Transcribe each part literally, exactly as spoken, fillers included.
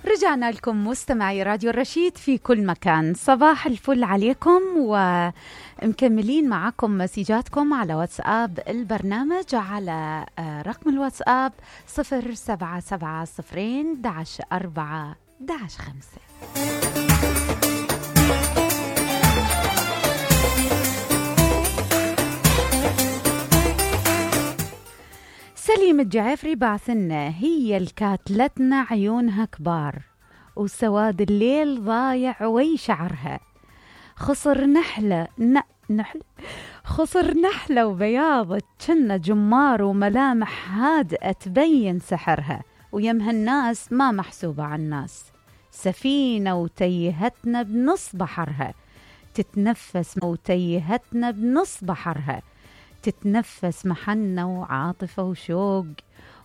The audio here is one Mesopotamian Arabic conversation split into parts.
رجعنا لكم مستمعي راديو الرشيد في كل مكان. صباح الفل عليكم، ومكملين معكم مسيجاتكم على واتساب البرنامج على رقم الواتساب صفر سبعة سبعة صفرين داش أربعة داش خمسة. سليم الجعفري بعثنا: هي الكاتلتنا عيونها كبار وسواد الليل ضايع وي شعرها، خصر نحلة ن... نحل خصر نحلة وبياض كنا جمار، وملامح هادئة تبين سحرها، ويمها الناس ما محسوبة عن الناس، سفينة وتيهتنا بنص بحرها، تتنفس وتيهتنا بنص بحرها، تتنفس محنة وعاطفة وشوق،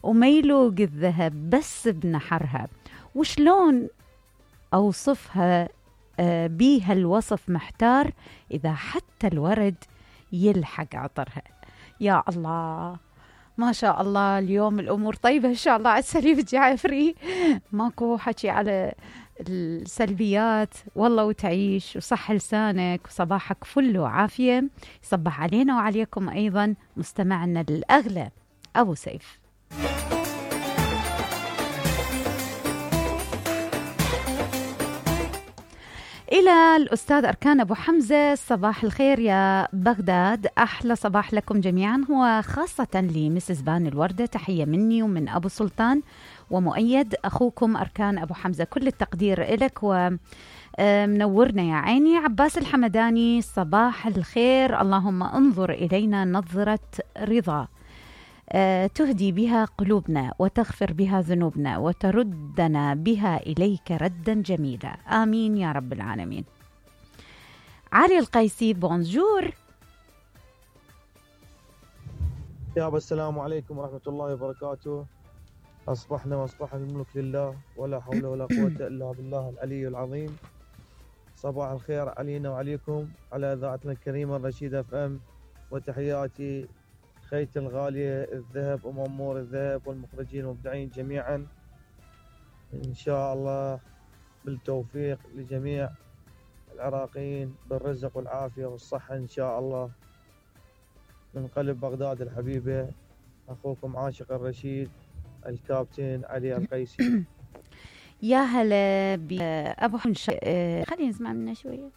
وميلوق الذهب بس بنحرها، وشلون أوصفها بيها الوصف محتار، إذا حتى الورد يلحق عطرها. يا الله ما شاء الله، اليوم الأمور طيبة إن شاء الله على السليم الجعفري، ماكو حكي على السلبيات والله، وتعيش وصح لسانك وصباحك فل وعافية. يصبح علينا وعليكم أيضا مستمعنا الأغلى أبو سيف. إلى الأستاذ أركان أبو حمزة: صباح الخير يا بغداد، أحلى صباح لكم جميعا، هو خاصة لمسز بان الوردة، تحية مني ومن أبو سلطان ومؤيد أخوكم أركان أبو حمزة، كل التقدير إلك ومنورنا يا عيني. عباس الحمداني: صباح الخير، اللهم انظر إلينا نظرة رضا تهدي بها قلوبنا وتغفر بها ذنوبنا وتردنا بها إليك ردا جميلا، آمين يا رب العالمين. علي القيسي: بونجور يا السلام عليكم ورحمة الله وبركاته. أصبحنا وأصبح الملك لله، ولا حول ولا قوة إلا بالله العلي العظيم. صباح الخير علينا وعليكم على إذاعتنا الكريمة الرشيد اف ام، وتحياتي خيتي الغالية الذهب ومأمور الذهب والمخرجين والمبدعين جميعا، إن شاء الله بالتوفيق لجميع العراقيين بالرزق والعافية والصحة إن شاء الله. من قلب بغداد الحبيبة، أخوكم عاشق الرشيد الكابتن علي القيسي. يا هلا بأبو حمزة، خلينا نسمع منه شوية.